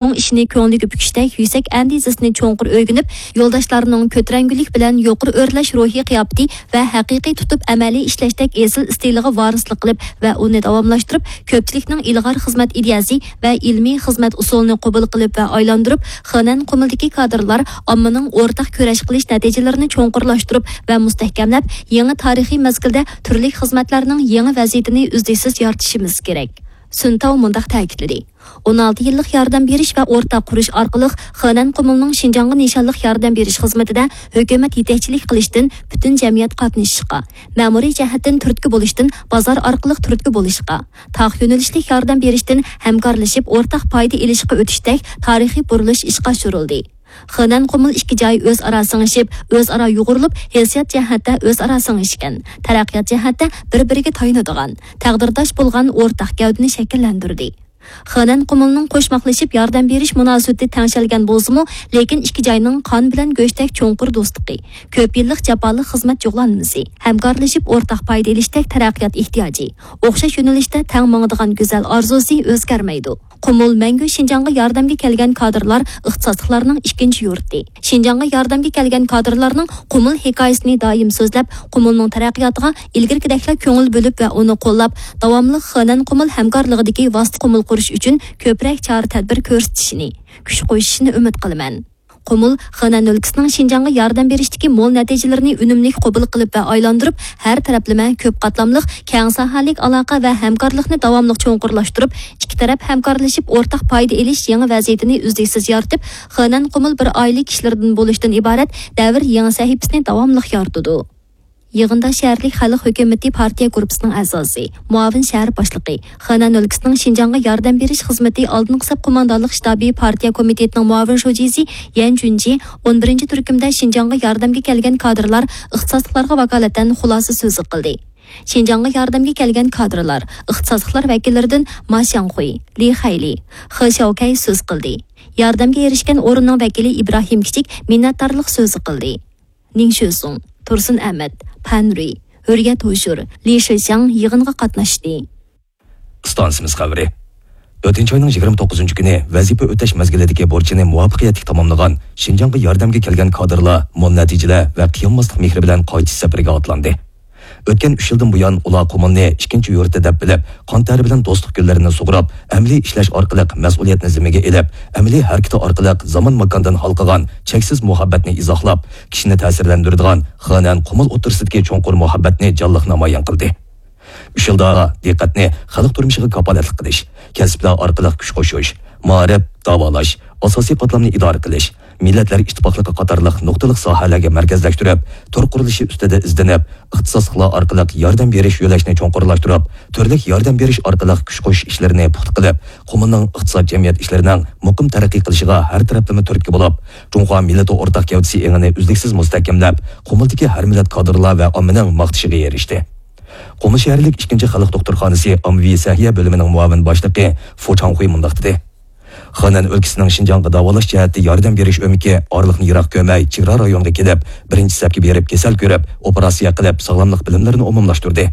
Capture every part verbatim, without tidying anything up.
چوڭ ئىشنى كۆڭلىگە پۈكۈشتەك يۈكسەك ئەندىزىسىنى چوڭقۇر ئۆگىنىپ، يولداشلارنىڭ كۆتۈرەڭگۈلۈك بىلەن يۇقىرى ئۆرلەش روھىي قىياپىتى ۋە ھەقىقىي تۇتۇپ ئەمەلىي ئىشلەشتەك ئېسىل ئىستىلىغا ۋارىسلىق قىلىپ ۋە ئۇنى داۋاملاشتۇرۇپ، كۆپچىلىكنىڭ ئىلغار خىزمەت ئىدىيەسى ۋە ئىلمىي خىزمەت ئۇسۇلىنى قوبۇل قىلىپ ۋە ئايلاندۇرۇپ، خېنەن قۇمۇلدىكى كادىرلار ئاممىنىڭ ئورتاق كۈرەش قىلىش نەتىجىلىرىنى چوڭقۇرلاشتۇرۇپ ۋە مۇستەھكەملەپ، يېڭى تارىخىي مەزگىلدە تۈرلۈك خىزمەتلەرنىڭ يېڭى ۋەزىيىتىنى ئۈزلۈكسىز يارىتىشىمىز كېرەك. سۈن تاۋ مۇنداق تەكىتلىدى. ئون ئالتە يىللىق ياردەم بېرىش ۋە ئورتاق قۇرۇش ئارقىلىق خېنەن قۇمۇلنىڭ شىنجاڭغا نىشانلىق ياردەم بېرىش خىزمىتىدە ھۆكۈمەت يېتەكچىلىك قىلىشتىن پۈتۈن جەمئىيەت قاتنىشىشقا، مەمۇرىي جەھەتتىن تۈرتكە بولۇشتىن بازار ئارقىلىق تۈرتكە بولۇشقا، تاق يۆنىلىشلىك ياردەم بېرىشتىن ھەمكارلىشىپ ئورتاق پايدا ئېلىشقا ئۆتۈشتەك تارىخىي بۇرۇلۇش ئىشقا ئاشۇرۇلدى. خېنەن قۇمۇل ئىككى جاي ئۆزئارا سىڭىشىپ، ئۆزئارا يۇغۇرۇلۇپ، ھېسسىيات جەھەتتە ئۆزئارا سىڭىشكەن، تەرەققىيات جەھەتتە بىر-بىرىگە تايىنىدىغان، تەقدىرداش بولغان ئورتاق گەۋدىنى شەكىللەندۈردى. خېنەن قۇمۇلنىڭ قوشماقلىشىپ ياردەم بېرىش مۇناسىۋىتى تەڭشەلگەن بولسىمۇ، لېكىن ئىككى جاينىڭ قان بىلەن گۆشتەك چوڭقۇر دوستلۇقى، كۆپ يىللىق جاپالىق خىزمەت جۇغلانمىسى، ھەمكارلىشىپ ئورتاق پايدا ئېلىشتەك تەرەققىيات ئېھتىياجى، ئوخشاش يۆنىلىشتە تەڭ ماڭىدىغان گۈزەل ئارزۇسى ئۆزگەرمەيدۇ. قۇمۇل مەڭگۈ شىنجاڭغا ياردەمگە كەلگەن كادىرلار ئىختىساسلىقلارنىڭ ئىككىنچى يۇرتى. شىنجاڭغا ياردەمگە كەلگەن كادىرلارنىڭ قۇمۇل ھېكايىسىنى دائىم سۆزلەپ، قۇمۇلنىڭ تەرەققىياتىغا ئىلگىرىكىدەكلا كۆڭۈل بۆلۈپ ۋە ئۇنى قوللاپ، داۋاملىق خېنەن قۇمۇل ھەمكارلىقىدىكى ۋاسىتە قۇمۇل قۇرۇش ئۈچۈن كۆپرەك چارە-تەدبىر كۆرسىتىشىنى، كۈچ قوشۇشىنى ئۈمىد قىلىمەن. قۇمۇل خېنەن ئۆلكىسىنىڭ شىنجاڭغا ياردەم بېرىشتىكى مول نەتىجىلىرىنى ئۈنۈملۈك قوبۇل قىلىپ ۋە ئايلاندۇرۇپ، ھەر تەرەپلىمە، كۆپ قاتلاملىق، كەڭ ساھەلىك ئالاقە ۋە ھەمكارلىقنى داۋاملىق چوڭقۇرلاشتۇرۇپ، ئىككى تەرەپ ھەمكارلىشىپ ئورتاق پايدا ئېلىش يېڭى ۋەزىيىتىنى ئۈزلۈكسىز يارىتىپ، خېنەن قۇمۇل بىر ئائىلە كىشىلىرىدىن بولۇشتىن ئىبارەت دەۋر يېڭى سەھىپىسىنى داۋاملىق يارىتىدۇ. يىغىندا شەھەرلىك خەلق ھۆكۈمىتى پارتىيە گۇرۇپپىسىنىڭ ئەزاسى، مۇئاۋىن شەھەر باشلىقى، خېنەن ئۆلكىسىنىڭ شىنجاڭغا ياردەم بېرىش خىزمىتى ئالدىنقى سەپ قوماندانلىق شتابى پارتىيە كومىتېتىنىڭ مۇئاۋىن شۇجىسى يەن جۈنجى، ئون بىرىنچى تۈركۈمدە شىنجاڭغا ياردەمگە كەلگەن كادىرلار، ئىختىساسلىقلارغا ۋاكالىتەن خۇلاسە سۆزى قىلدى. شىنجاڭغا ياردەمگە كەلگەن كادىرلار، ئىختىساسلىقلار ۋەكىللىرىدىن ما شياڭخۇي، لى خەيلى، خې شياۋكەي سۆز قىلدى. ياردەمگە ئېرىشكەن ئورۇننىڭ ۋەكىلى ئىبراھىم كىچىك مىننەتدارلىق سۆزى قىلدى. نىڭ شۆسۇڭ، تۇرسۇن ئەمەت، پەن رۇي، ھۆرىيەت ھوشۇر، لى شېشياڭ يىغىنغا قاتناشتى. ئىستانسىمىز خەۋىرى. ئۆتكەن ئاينىڭ يىگىرمە توققۇزىنچى كۈنى ۋەزىپە ئۆتەش مەزگىلىدىكى بۇرچىنى مۇۋەپپەقىيەتلىك تاماملىغان شىنجاڭغا ياردەمگە كەلگەن كادىرلار مول نەتىجىلەر ۋە قىيانماسلىق مېھرى بىلەن قايتىش سەپىرىگە ئاتلاندى. ئۆتكەن ئۈچ يىلدىن بۇيان ئۇلار قۇمۇلنى ئىككىنچى يۇرتى دەپ بىلىپ، قان تەرى بىلەن دوستلۇق گۈللىرىنى سۇغۇرۇپ، ئەمەلىي ئىشلەش ئارقىلىق مەسئۇلىيەتنى زىممىگە ئېلىپ، ئەمەلىي ھەرىكىتى ئارقىلىق زامان ماكاندىن ھالقىغان چەكسىز مۇھەببەتنى ئىزاھلاپ، كىشىنى تەسىرلەندۈرىدىغان خېنەن قۇمۇل ئوتتۇرىسىدىكى چوڭقۇر مۇھەببەتنى جانلىق نامايان قىلدى. ئۈچ يىلدا دىققەتنى خەلق تۇرمۇشىغا كاپالەتلىك قىلىش، كەسىپلەر ئارقىلىق كۈچ قوشۇش، مائارىپ، داۋالاش، ئاساسىي قاتلامنى ئىدارە قىلىش، مىللەتلەر ئىتتىپاقلىقى قاتارلىق نۇقتىلىق ساھەلەرگە مەركەزلەشتۈرۈپ، تور قۇرۇلۇشى ئۈستىدە ئىزدىنىپ، ئىختىساسلىقلار ئارقىلىق ياردەم بېرىش يۆلەشنى چوڭقۇرلاشتۇرۇپ، تۈرلۈك ياردەم بېرىش ئارقىلىق كۈچ قوشۇش ئىشلىرىنى پۇختا قىلىپ، قۇمۇلنىڭ ئىقتىساد، جەمئىيەت ئىشلىرىنىڭ مۇقىم تەرەققىي قىلىشىغا ھەر تەرەپلىمە تۈرتكە بولۇپ، جۇڭخۇا مىللىتى ئورتاق گەۋدىسى ئېڭىنى ئۈزلۈكسىز مۇستەھكەملەپ، قۇمۇلدىكى ھەر مىللەت كادىرلار ۋە ئاممىنىڭ ماختىشىغا ئېرىشتى. قۇمۇل شەھەرلىك ئىككىنچى خەلق دوختۇرخانىسى ئاممىۋى سەھىيە بۆلۈمىنىڭ مۇئاۋىن باشلىقى فۇ چاڭخۇي مۇنداق دېدى. خېنەن ئۆلكىسىنىڭ شىنجاڭغا داۋالاش جەھەتتە ياردەم بېرىش ئۆمىكى ئارىلىقنى يىراق كۆرمەي، چېگرا رايونغا كېلىپ، بىرىنچى سەپكە بېرىپ كېسەل كۆرۈپ، ئوپېراتسىيە قىلىپ، ساغلاملىق بىلىملىرىنى ئومۇملاشتۇردى.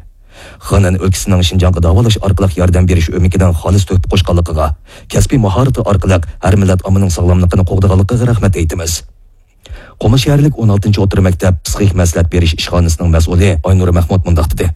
خېنەن ئۆلكىسىنىڭ شىنجاڭغا داۋالاش ئارقىلىق ياردەم بېرىش ئۆمىكىنىڭ خالىس تۆھپە قوشقانلىقىغا، كەسپىي ماھارىتى ئارقىلىق ھەر مىللەت ئاممىنىڭ ساغلاملىقىنى قوغدىغانلىقىغا رەھمەت ئېيتىمىز. قۇمۇل شەھەرلىك ئون ئالتىنچى ئوتتۇرا مەكتەپ پسىخىك مەسلىھەت بېرىش ئىشخانىسىنىڭ مەسئۇلى ئاينۇر مەھمۇت مۇنداق دېدى.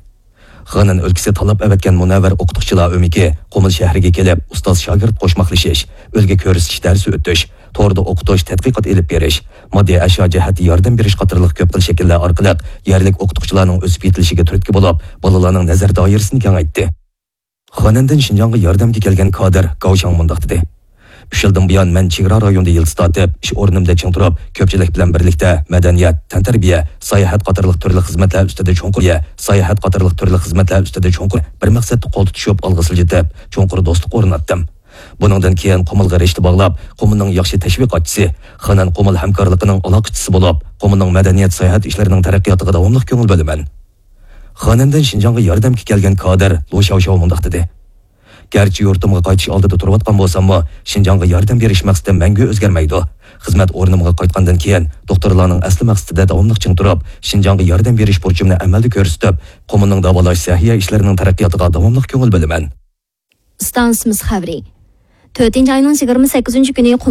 خېنەن ئۆلكىسى تاللاپ ئەۋەتكەن مۇنەۋۋەر ئوقۇتقۇچىلار ئۆمىكى قۇمۇل شەھىرىگە كېلىپ، ئۇستاز شاگىرت قوشماقلىشىش، ئۈلگە كۆرسىتىش دەرسى ئۆتۈش، توردا ئوقۇتۇش، تەتقىقات ئېلىپ بېرىش، ماددىي ئەشيا جەھەتتە ياردەم بېرىش قاتارلىق كۆپ خىل شەكىللەر ئارقىلىق يەرلىك ئوقۇتقۇچىلارنىڭ ئۆسۈپ يېتىلىشىگە تۈرتكە بولۇپ، بالىلارنىڭ نەزەر دائىرىسىنى كېڭەيتتى. خېنەندىن شىنجاڭغا ياردەمگە كەلگەن كادىر گاۋ شاڭ مۇنداق دېدى: «ئۈچ يىلدىن بۇيان مەن چېگرا رايونىدا يىلتىز تارتىپ، ئىش ئورنۇمدا چىڭ تۇرۇپ، كۆپچىلىك بىلەن بىرلىكتە مەدەنىيەت، تەنتەربىيە، ساياھەت قاتارلىق تۈرلۈك خىزمەتلەر ئۈستىدە چوڭقۇر، ساياھەت قاتارلىق تۈرلۈك خىزمەتلەر ئۈستىدە چوڭقۇر بىر مەقسەتتە قول تۇتۇشۇپ، ئالغا سىلجىتىپ، چوڭقۇر دوستلۇق ئورناتتىم. بۇنىڭدىن كېيىن قۇمۇلغا رىشتە باغلاپ، قۇمۇلنىڭ ياخشى تەشۋىقاتچىسى، خېنەن قۇمۇل ھەمكارلىقىنىڭ ئالاقىچىسى بولۇپ، قۇمۇلنىڭ مەدەنىيەت ساياھەت ئىشلىرىنىڭ تەرەققىياتىغا داۋاملىق كۆڭۈل بۆلىمەن.» خېنەندىن شىنجاڭغا ياردەمگە كەلگەن كادىر لۇ شياۋشياۋ مۇنداق دېدى: «گەرچە يۇرتۇمغا قايتىش ئالدىدا تۇرۇۋاتقان بولساممۇ، شىنجاڭغا ياردەم بېرىش مەقسىتىم مەڭگۈ ئۆزگەرمەيدۇ. خىزمەت ئورنۇمغا قايتقاندىن كېيىن، دوختۇرلارنىڭ ئەسلى مەقسىتىدە داۋاملىق چىڭ تۇرۇپ، شىنجاڭغا ياردەم بېرىش بۇرچۇمنى ئەمەلدە كۆرسىتىپ، قۇمۇلنىڭ داۋالاش سەھىيە ئىشلىرىنىڭ تەرەققىياتىغا داۋاملىق كۆڭۈل بۆلىمەن.» ئىستانسىمىز خەۋىرى. تۆتىنچى ئاينىڭ يىگىرمە سەككىزىنچى كۈنى قۇمۇل